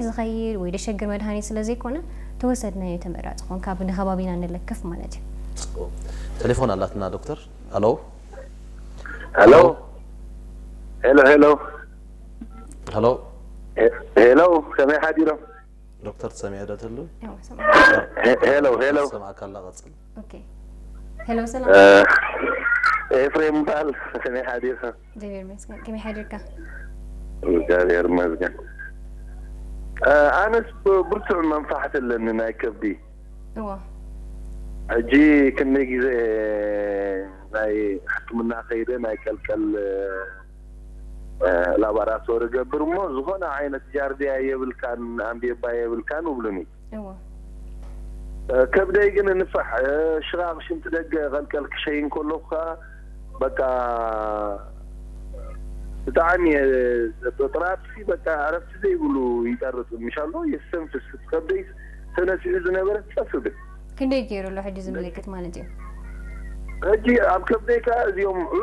ዝኸይድ ወይ ደሸግር መድሃኒት ስለ ዘይኮነ፣ ተወሰድናዮ ተመራጺ ኮን ካብ ንኸባቢና ንለክፍ ማለት እዩ። ቴሌፎን ኣላትና ዶክተር። ሄሎ። Hello. Hello, hello. Hello. He- Hello, ከመይ ሓዲሮም? ዶክተር ትሰሚዐ ዶ ትህሉ? ያው፣ ሰማ- He- Hello, hello. ሰማዕካ ኣላ፣ ቀጽል። ኦኬ። ሄሎ፣ ሰላም። Uh, ኤፍሬም በሃል፣ ከመይ ሓዲርካ? እግዚኣብሔር ይመስገን። ከመይ ሓዲርካ? እግዚኣብሔር ይመስገን። Uh, ኣነስ ብ- ብርቱዕ መንፋሕቲ ኣለኒ ናይ ከብዲ። እዎ። ሕጂ ክንደይ ግዜ ናይ ሕክምና ከይደ ናይ ቀልቀል እ፣ ላባራቶሪ ገብር እሞ ዝኾነ ዓይነት ጃርዲያ የብልካን ኣምቤባ የብልካን ይብሉኒ። እዎ። እ፣ ከብደይ ግን ንፋሕ እ፣ ሽቓቕ ሽንቲ ደገ ቀልቀል ክሸይን ከለኹ ከዓ በቃ ብጣዕሚ እ፣ ጥራጥፊ በቃ ዕረፍቲ ዘይብሉ ይጠርጥ ምሻሎ የስተንፍስ ከብደይ ተነሲሑ ዝነበረ ጸፍ ብል ክንደይ ገይሩ ኣሎ ሕጂ እዚ ምልክት ማለት እዩ? ሕጂ ኣብ ከብደይ ከዓ እዚኦም እ፣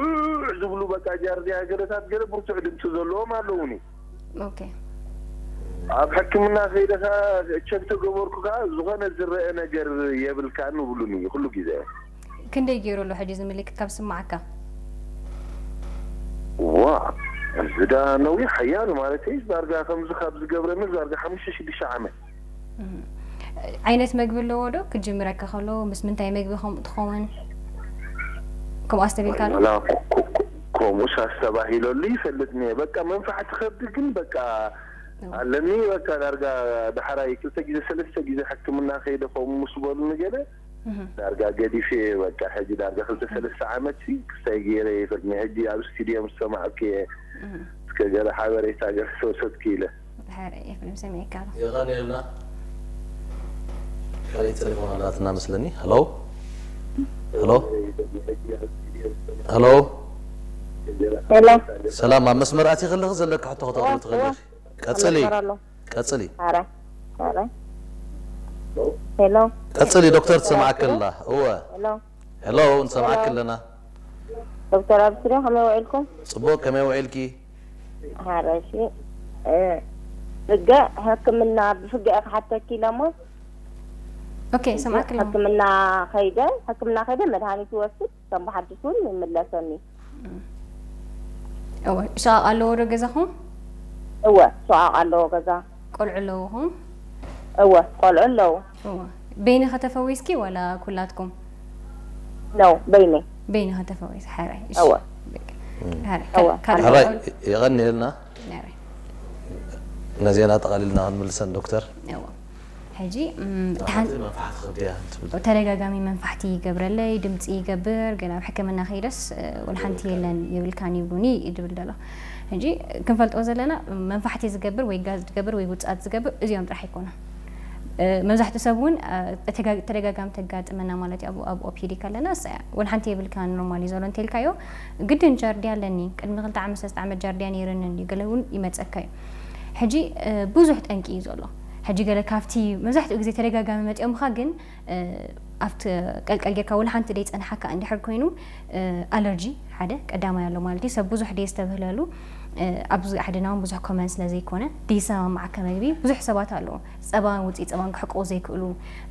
ዝብሉ በቃ ጃርዲያ ገለታት ገለ ብርቱዕ ድምፂ ዘለዎም ኣለውኒ። ኦኬ። ኣብ ሕክምና ከይደ ከዓ ቸክ ተገበርኩ ከዓ ዝኾነ ዝረአ ነገር የብልካን ይብሉኒ ኩሉ ግዜ። ክንደይ ገይሩ ኣሎ ሕጂ እዚ ምልክት ካብ ስማዓካ? ዋ እዚ ዳ ነዊሕ ሓያል ማለት እዩ። ዳርጋ ከምዚ ካብ ዝገብረኒ ዳርጋ ሓሙሽተ ሽዱሽተ ዓመት። እም። ዓይነት መግቢ ኣለዎ ዶ ክጅምረካ ከሎ ምስ ምንታይ መግቢ ከምኡ ትኸውን? ከምኡ ኣስተቢልካ ዶ? ወላ ኮ- ኮ- ከምኡስ ኣስተባሂለሉ ይፈልጥ እኒአ። በቃ መንፋዕቲ ከብዲ ግን በቃ ኣለኒ። በቃ ዳርጋ ዳሕራይ ክልተ ግዜ ሰለስተ ግዜ ሕክምና ከይደ ከምኡ ምስ በሉኒ ገለ እህ። ዳርጋ ገዲፈ እየ። በቃ ሕጂ ዳርጋ ክልተ ሰለስተ ዓመት ሲ ክስታይ ገይረ ይፈልጥ እኒአ። ሕጂ ኣብ ስቱድዮ ምስ ሰማዕኩ እየ እስከ ገለ ሓበሬታ ገለ ተወሰድኩ ኢለ። ድሓር ኤፍሬም ሰሚዕካ ኣሎ። የቐንየልና። ካልእ ቴሌፎን ኣላትና መስለኒ። ሄሎ። ሄሎ። ሄሎ። ሄሎ። ሰላም፣ ኣብ መስመር ኣቲ ከለኺ ዘለካ ሕቶ ከተቕርቢ ትኽእሊ ኢኺ። ቀጽሊ። መስመር ኣሎ። ቀጽሊ። ኧረ፣ ኧረ። ሄሎ። ቀጽሊ ዶክተር፣ ትሰማዓኪ ኣላ። እወ። ሄሎ። ሄሎ፣ ንሰማዓኪ ኣለና። ዶክተር ኣብስሪ ከመይ ውዒልኩም? ጽቡቕ፣ ከመይ ውዒልኪ? ኧረ፣ እሺ። እ፣ ፍገ ሕክምና ብፍገ እየ ክሓተኪ ኢለ እሞ ኦኬ፣ ሰማዕኪ ኣለኹ። ሕክምና ከይደ፣ ሕክምና ከይደ መድሃኒት ይወስድ፣ ከም ብሓድሽ እውን ይምለሰኒ። እወ፣ ሽቓቕ ኣለዎ ዶ ገዛኹም? እወ፣ ሽቓቕ ኣለዎ ገዛ። ቆልዑ ኣለውኹም? እወ፣ ቆልዑ ኣለዉ። እወ። በይንኺ ተፈዊስኪ ዋላ ኩላትኩም? ነው፣ በይነይ። በይንኺ ተፈዊስ፣ ሓራይ። እሺ። እወ። ሓራይ። እወ። ካልእ ሕራይ ቆል-፣ የቐንየልና። ሓራይ። ነዜና ጠቓሊልና ክንምልሰን ዶክተር። እወ። ሕጂ፣ እም፣ እቲ ሓንቲ መንፋሕቲ ከብዲ እያ ትብል። ተደጋጋሚ መንፋሕቲ ይገብረለይ፣ ድምፂ ይገብር፣ ግን ኣብ ሕክምና ከይደስ፣ እ፣ ወላ ሓንቲ የለን የብልካን ይብሉኒ እዩ ዝብል ዘሎ። ሕጂ ክንፈልጦ ዘለና መንፋሕቲ ዝገብር ወይ ጋዝ ዝገብር ወይ ውፅኣት ዝገብር እዚኦም ጥራሕ ኣይኮኑን። እ፣ መብዛሕትኡ ሰብ እውን፣ እ፣ ተደጋ-፣ ተደጋጋሚ ተጋጥመና ማለት እዩ። ኣብ፣ ኣብ ኦፒዲ ከለና እሳ እያ። ወላ ሓንቲ የብልካን ኖርማል እዩ ዘሎ እንተልካዮ፣ ግድን ጃርዲያ ኣለኒ፣ ቅድሚ ክልተ ዓመት ሰለስተ ዓመት ጃርዲያ ነይርኒ እንድዩ፣ ገለ እውን ይመፀካ እዩ። ሕጂ፣ እ፣ ብዙሕ ጠንቂ እዩ ዘሎ። ሕጂ ገለ ካብቲ መብዛሕትኡ ግዜ ተደጋጋሚ መፂኦምኻ ግን፣ እ፣ ኣብቲ ቀልቀል ጌርካ ወላ ሓንቲ ደይ ፀንሓካ እንድሕር ኮይኑ፣ እ፣ ኣለርጂ ሓደ ቀዳማይ ኣሎ ማለት እዩ። ሰብ ብዙሕ ደይ ዝተብህለሉ፣ እ፣ ኣብዚ ዓድና እውን ብዙሕ ኮመን ስለ ዘይኮነ ደይ ሰማማዓካ መግቢ ብዙሕ ሰባት ኣለዉ። ጸባን ውፅኢ ጸባን ክሕቅቑ ዘይክእሉ፣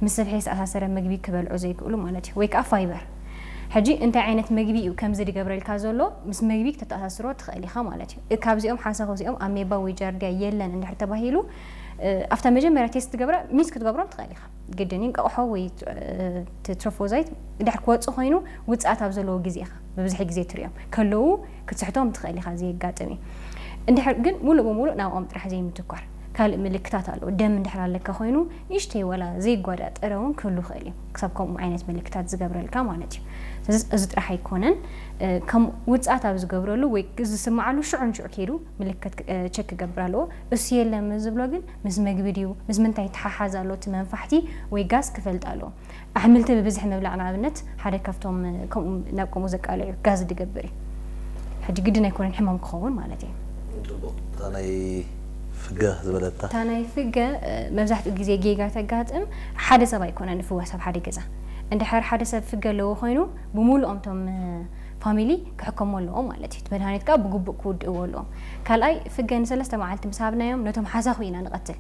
ምስ ስብሒ ዝተኣሳሰረ መግቢ ክበልዑ ዘይክእሉ ማለት እዩ። ወይ ከዓ ፋይበር። ሕጂ እንታይ ዓይነት መግቢ እዩ ከምዚ ዝገብረልካ ዘሎ? ምስ መግቢ ክተተኣሳስሮ ትኽእል ኢኻ ማለት እዩ። እ፣ ካብዚኦም ሓሳኹ እዚኦም ኣሜባ ወይ ጃርዲያ የለን እንድሕር ተባሂሉ፣ እ፣ ኣብታ መጀመርያ ቴስት ትገብራ ሚስ ክትገብሮም ትኽእል ኢኻ። ግድን እንቃቑሖ ወይ፣ እ፣ እቲ ትሮፎዛይት ድሕር ክወጽእ ኮይኑ ውጽኣት ኣብ ዘለዎ ግዜ ኢኻ ብብዝሒ ግዜ ትሪኦም። ከለዉ ክትስሕቶም ትኽእል ኢኻ፣ እዚ የጋጥም እዩ። እንድሕር ግን ሙሉእ ብሙሉእ ናብኦም ጥራሕ ዘይምትኳር፣ ካልእ ምልክታት ኣለዎ። ደም እንድሕር ኣለካ ኮይኑ ንእሽተይ ወላ ዘይጓዳጠረ እውን ክህሉ ይኽእል እዩ። ክሳብ ከምኡ ዓይነት ምልክታት ዝገብረልካ ማለት እዩ። ስለዚ እዚ ጥራሕ ኣይኮነን። እ፣ ከም ውጽኣት ኣብ ዝገብረሉ ወይ ዝስምዓሉ ሽዑ ንሽዑ ከይዱ ምልክት ክ-፣ እ፣ ቸክ ክገብር ኣለዎ። እሱ የለን ምስ ዝብሎ ግን ምስ መግቢ ድዩ፣ ምስ ምንታይ ይተሓሓዝ ኣሎ እቲ መንፋሕቲ ወይ ጋዝ ክፈልጥ ኣለዎ። ኣሕምልቲ ብብዝሒ ምብላዕ ንኣብነት ሓደ ካብቶም፣ እ፣ ከምኡ፣ ናብ ከምኡ ዘቃልዕ እዩ፣ ጋዝ ዝገብር እዩ። ሕጂ ግድን ኣይኮነን ሕማም ክኸውን ማለት እዩ። ጽቡቕ። እታ ናይ ፍገ ዝበለታ። እታ ናይ ፍገ፣ እ፣ መብዛሕትኡ ግዜ ጌጋ ተጋጥም ሓደ ሰብ ኣይኮነን ዝፍወስ ኣብ ሓደ ገዛ። እንድሕር ሓደ ሰብ ፍገ ኣለዎ ኮይኑ ብምሉኦም እቶም፣ እ፣ ፋሚሊ ክሕከሙ ኣለዎም ማለት እዩ። እቲ መድሃኒት ከዓ ብግቡእ ክውድእዎ ኣለዎም። ካልኣይ ፍገ ንሰለስተ መዓልቲ ምስ ሃብናዮም ነቶም ሓሳኹ ኢና ንቐትል።